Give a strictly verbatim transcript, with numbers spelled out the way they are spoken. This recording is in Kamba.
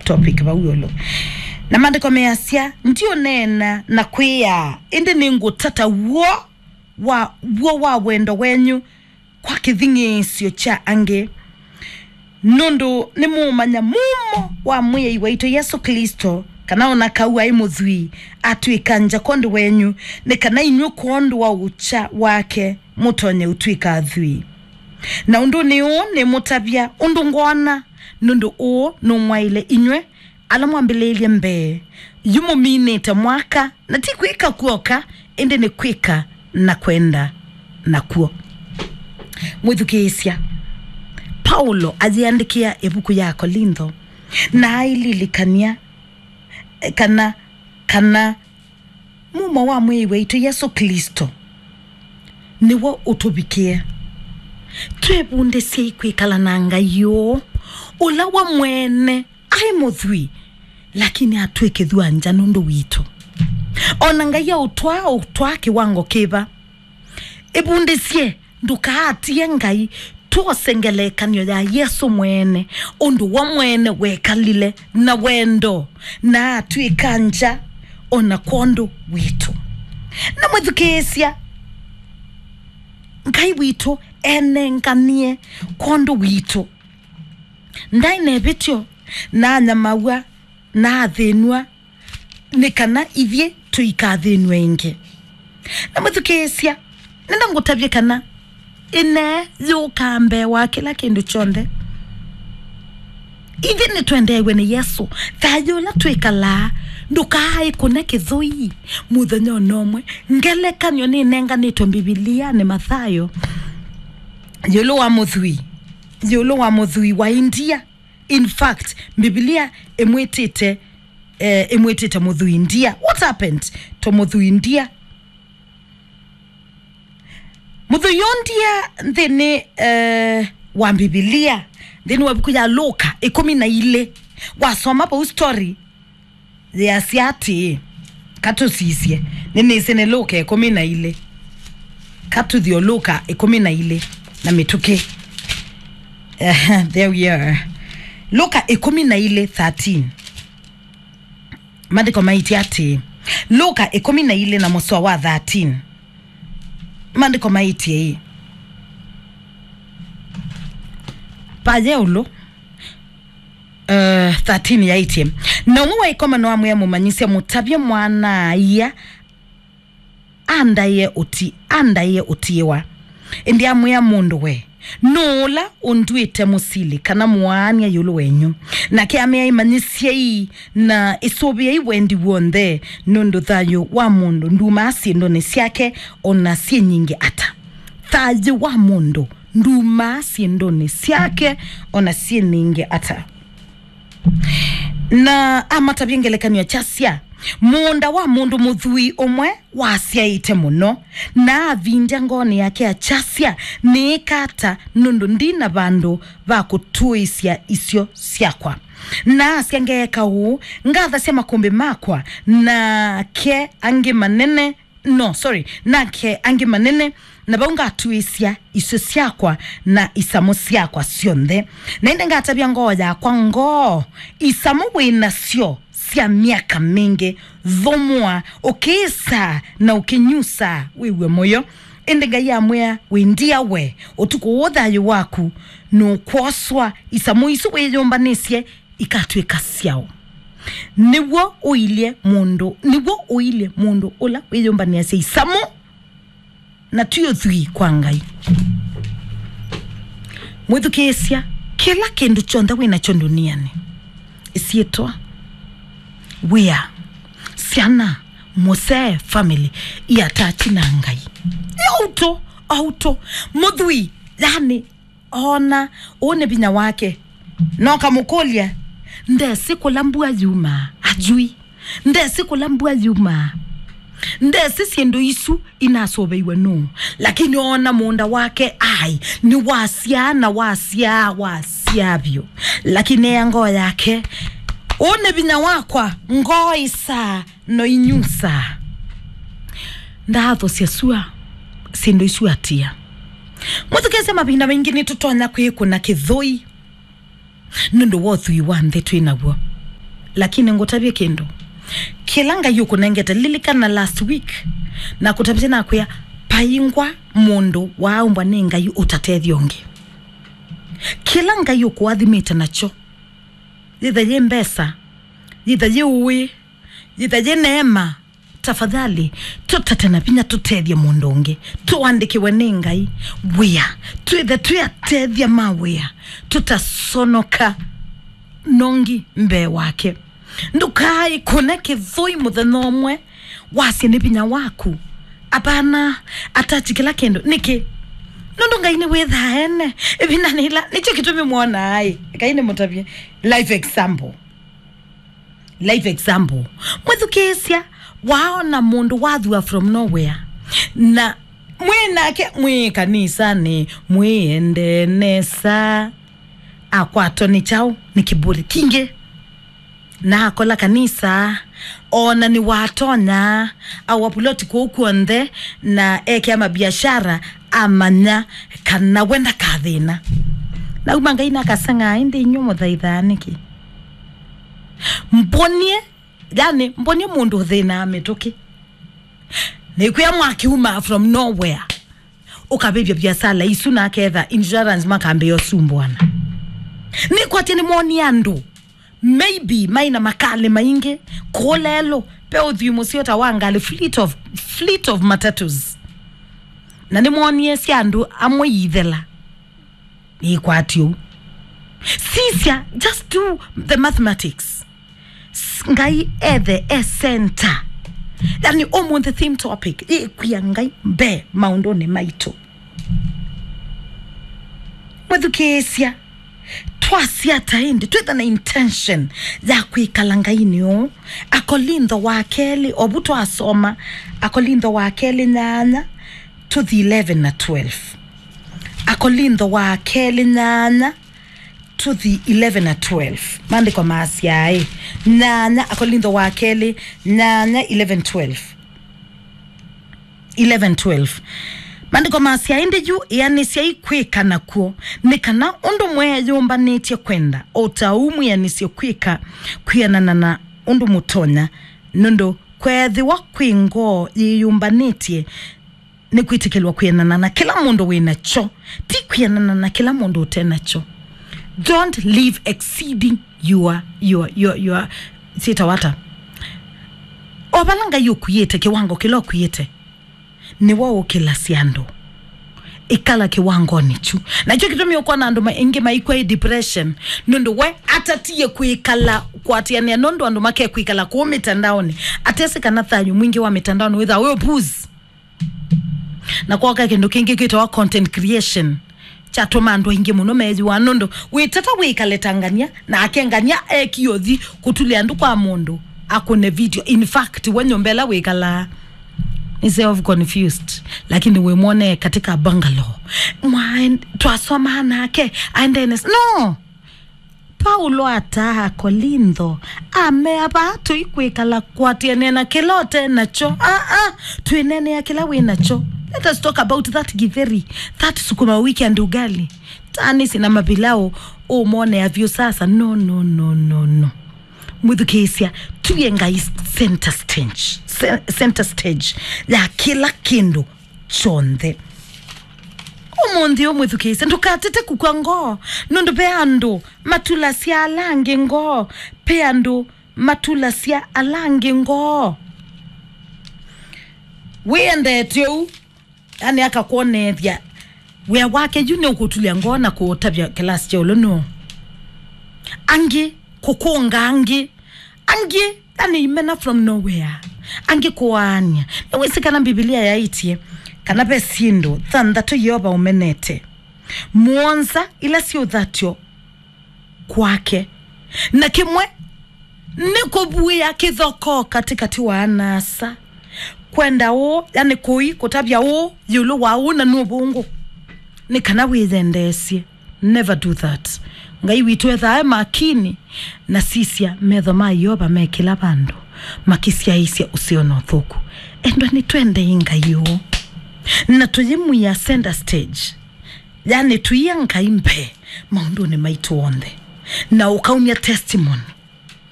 topic vau ĩũlũ. Na maandĩko measya, "Ndiũneena na kwĩaa, ĩndĩ nĩngũtata w'o wa, w'o wa wendo wenyu kwa kĩthing'ĩĩsyo kya angĩ, nũndũ nĩmũũmanya mumo wa Mwĩai waitũ Yesũ Klĩsto, kana o na kau aĩ mũthwii, atw'ĩka ngya kwondũ wenyu, nĩ kana inyw'ĩ kwondũ wa ũkya wake mũtonye ũtw'ĩka athwii. Na ũndũnĩ ũũ nĩmũtavya ũndũ ngwona, nũndũ ũũ nũmwaĩle inyw'ĩ, ala mwambĩlĩĩlye mbee, yu mũminĩte mwaka, na ti kwĩka kw'oka, ĩndĩ nĩ kwĩka na kwenda nakw'o." Mwĩthukĩĩsya, Paulo ayĩandĩkĩa ĩvuku ya Akolintho, na aililikany'a, eh, kana, kana mumo wa Mwĩai waitũ Yesũ Klĩsto nĩw'o ũtũvikĩe. Twĩvundĩsyei kwĩkala na Ngai ũũ, ũla we mwene aĩ mũthwii, lakini atw'ĩkĩthw'a ngya nũndũ witũ. O na Ngai aũtwaa, ũtwaa kĩwango kĩva? Ĩvundĩsye ndũkaatie Ngai. Twose ngelekany'o ya Yesũ mwene, ũndũ we mwene wekalile na wendo, na atw'ĩka ngya o na kwondũ witũ. Na mwĩthukĩĩsya, Ngai witũ enenganie kwondũ witũ. Ndaĩ na ĩvĩtyo, na anyamaw'a, na athĩnw'a, nĩ kana ithyĩ tũikathĩnw'e ĩngĩ. Na mwĩthukĩĩsya, nenda ngũtavye kana ĩnee yũkaa mbee wa kĩla kĩndũ kyonthe. Ithyĩ nĩtwendeew'e nĩ Yesũ. Thayũ ũla twĩkalaa ndũkaaĩkũne kĩthũi mũthenya o na ũmwe. Ngelekany'o nĩnenganĩtwe Mbivilianĩ, Mathayo, ĩũlũ wa mũthwii, ĩũlũ wa mũthwii wa India. In fact, Mbivilia ĩmwĩtĩte, eh, ĩmwĩtĩte mũthwii ndia. What happened to mũthwii ndia? Mũthwii ũũ ndia nthĩnĩ, eh, wa Mbivilia, nthĩnĩ wa ĩvuku ya Luka ĩkũmi na ilĩ, wasoma vau story, yĩasya atĩĩ, katũsisye, nĩnĩsĩ nĩ Luka ĩkũmi na ilĩ. Katũthi o Luka ĩkũmi na ilĩ na mĩtũkĩ. Ehe, there we are. Luka ĩkũmi na ilĩ thirteen. Maandĩko maĩtye atĩĩ, Luka ĩkũmi na ilĩ na mũsoa wa thirteen. Maandĩko maĩtye ĩ, paye ũlũ, eh, thirteen yaĩtye, "Na ũmwe wa ĩkomano amwĩa, 'Mũmanyĩsya, mũtavye mwana-a-ia andaĩe ũti-, andaĩe ũtiĩwa.' Ĩndĩ amwĩa, 'Mũndũ we, nũũ ũla ũndw'ĩte mũsili kana mũaany'a ĩũlũ wenyu?' Nake amea, 'Ĩmanyĩsyei na ĩsũvĩei wendi w'onthe, nũndũ thayũ wa mũndũ ndumaa syĩndũnĩ syake, o na syĩ nyingĩ ata.'" Thayũ wa mũndũ ndumaa syĩndũnĩ syake, o na syĩ nyingĩ ata. Na amatavya ngelekany'o kyasya, mũũnda wa mũndũ mũthwii ũmwe wasyaĩte mũno, na avindya ngoonĩ yake akyasya, "Nĩĩka ata, nũndũ ndi na vandũ va kũtũĩsya isyo syakwa?" Na asya, "Ngeeka ũũ, ngathasya makũmbĩ makwa, nake angĩ manene, no, sorry, nake angĩ manene, na vau ngatuĩsya isyo syakwa na isamũ syakwa syonthe. Na ĩndĩ ngatavya ngoo yakwa, 'Ngoo, isamũ wĩ nasyo sya myaka mingĩ, thũmũa, ũkĩĩsaa na ũkĩnyusaa, wĩw'e mũyo.' Ĩndĩ Ngai amwĩa, 'Wĩ ndia we, ũtukũ ũũ thayũ waku nũkwoswa, isamũ isu wĩyũmbanĩsye ikatw'ĩka syaũ?' Nĩw'o ũilye mũndũ, nĩw'o ũilye mũndũ ũla wĩyũmbanĩasya isamũ, na ti ũthwii kwa Ngai. Mwĩthukĩĩsya, kĩla kĩndũ kyonthe wĩ nakyo ndũnianĩ, ĩsyĩtwa, wĩa, syana, mũsee, family, iatachi na Ngai. Nĩ o ũtũ, o ũtũ. Mũthwii, yani, oona ũũ nĩ vinya wake. Na ũkamũkũlya, ndesĩ kũla mbua yumaa, ajui. Ndesĩ kũla mbua yumaa. Ndesĩ syĩndũ isu inasũvĩiwe nũũ. Lakini oona mũũnda wake, ai, nĩwasyaa na wasyaa, wasyaa vyũ. Lakini ea ngoo yake, ũũ nĩ vinya wakwa, ngoo ĩsaa no inyusaa. Ndaathosya sua, syĩndũ isu atia. Mwĩthukĩĩsye, mavinda maingĩ nĩtũtonya kwĩkũna kĩthũi nũndũ wa ũthwii wa nthĩ twĩ naw'o. Lakini ngũtavye kĩndũ. Kĩla Ngai ũkũnengete, lilikana last week, na kũtavye nakwĩa, paingwa mũndũ waaũmbwa nĩ Ngai ũtatethya ũngĩ. Kĩla Ngai ũkũathimĩte nakyo, yĩtha yĩ mbesa, yĩtha yĩ ũĩ, yĩtha yĩ neema, tafadhali, tũtate na vinya tũtethye mũndũ ũngĩ. Tũandĩkĩwe nĩ Ngai wĩa, twĩthe twĩ atethya ma wĩa, tũtasonoka nongi mbee wake. Ndũkaikũne kĩthũi mũthenya ũmwe wasye nĩ vinya waku. Apana, atachi kĩla kĩndũ. Nĩkĩ? Nũndũ Ngai nĩwĩthaa ene. Ĩvindanĩ ĩla, nĩkyo kĩtumi mwonaa ĩ. Ngai nĩmũtavye. Life example. Life example. Mwĩthukĩĩsya, waona mũndũ wathua from nowhere. Na mwĩ nake, mwĩ kanisanĩ, mwĩendee nesa. Akwatwa nĩ kyaũ? Nĩ kĩvũlĩ kingĩ. Na akola kanisa, ona nĩwatonya, awa puloti kũu kw'onthe, na ekea mabiashara, amanya kana we ndakathĩna. Nauma Ngai nakaseng'aa, ĩndĩ inyw'ĩ mũthaithaa nĩkĩ? Mbonie, yani, mbonie mũndũ ũthĩnaa mĩtũkĩ. Nĩkwĩa mwakiuma from nowhere. Ũkavĩvya biasala isu na aketha insurance makambĩa ũsumbũana. Nĩkwatya nĩmwonie andũ, maybe maĩ na makalĩ maingĩ, kũlelũ, pe ũthwii mũseo ta wa ngalĩ, fleet of, fleet of matatus. Na nĩmwonie sya andũ amwe iithela. Nĩkwatya ũu. Sisya, just do the mathematics. S-, Ngai ethe e center. Yani, ũmũnthĩ theme topic, ĩkwĩa Ngai mbee maũndũnĩ maitũ. Mwĩthukĩĩsya, twasya ata ĩndĩ, twĩtha na intention ya kwĩkala Ngainĩ ũũ. Akolintho wa kelĩ, ovu twasoma, Akolintho wa kelĩ nyanya, tũthi eleven na twelve. Akolintho wa kelĩ nyanya, tũthi eleven na twelve. Maandĩko maasya ĩ, nyanya, Akolintho wa kelĩ, nyanya, eleven, twelve. Eleven, twelve. Maandĩko maasya, ĩndĩ yu ĩanĩsyai kwĩka nakw'o, nĩ kana ũndũ mweeyũmbanĩtye kwenda, o ta ũu mwĩanĩsye kwĩka kwĩanana na ũndũ mũtonya, nũndũ kweethĩwa kwĩ ngoo yĩyũmbanĩtye nĩ kwĩtĩkĩlwa kwĩanana na kĩla mũndũ wĩ nakyo, ti kwĩanana na kĩla mũndũ ũte nakyo. Don't live exceeding your, your, your, your, syĩtawa ata? O vala Ngai ũkuĩte, kĩwango kĩla ũkuĩte, nĩwe ũkĩlasya andũ. Ĩkala kĩwangonĩ kyu. Nakyo kĩtumi ũkwona andũ ma-, aingĩ maikw'a ĩ depression, nũndũ we atatie kwĩkala kwatĩanĩa, nũndũ andũ makekwĩkala kũu mĩtandaonĩ. Atesĩ kana thayũ mwingĩ wa mĩtandaonĩ wĩthaa wĩ ũpuzi. Na kwoka kĩndũ kĩngĩ kĩtawa content creation, kyatũma andũ aingĩ mũno meyĩwa, nũndũ wĩtata wĩkale ta ngania, nake ngania ekie ũthi kũtulya andũ kwa mũndũ akũne video. In fact, we nyũmba ĩla wĩkalaa nĩ self confused, lakini wĩmwone katika bungalow. Mwaen-, twasomaa nake, aendene s-, no! Paulo ataa Akolintho, amea vaa tũikwĩkala kwatĩanĩa na kĩla ũte nakyo. Aa, twĩneenea kĩla wĩ nakyo. Let us talk about that gĩtheri, that sukuma wiki and ugali. Tanisi na mapilau, ũmonea vyũ sasa. No, no, no, no, no. Mwĩthukĩĩsya, tuye Ngai center stage, ce-, center stage ya kĩla kĩndũ kyonthe. Ũmũnthĩ ũmwĩthukĩĩsye, ndũkatete kũkw'a ngoo, nũndũ ve andũ matulasya ala angĩ ngoo, ve andũ matulasya ala angĩ ngoo. Wĩendete ũu, yani akakwoneethya wĩa wake yu nĩ ũkũtulya ngoo na kũũtavya kĩlasi kya ũlũnũ. Angĩ kũkũnga angĩ, angĩ yani imena from nowhere, angĩ kũaany'a. Nĩwĩsĩ kana Mbivilia yaĩtye kana ve syĩndũ thanthatũ Yeova ũmenete, mũonza ila syĩ ũthatyo kwake, na kĩmwe nĩ kũvuĩa kĩthokoo katĩkatĩ wa ana-a-asa, kwenda ũũ, yani kũi, kũtavya ũũ ĩũlũ wa ũũ, na nĩ ũvũngũ, nĩ kana wĩyendeesye. Never do that. Ngai witũ ethaa e makini, na sisya, metho ma Yeova me kĩla vandũ, makĩsyaĩĩsya ũseo na ũthũku. Endwa, nĩtwendei Ngai ũũ, na tũyĩmwia center stage, yani tũia Ngai mbee maũndũnĩ maitũ onthe, na ũkaumya testimony.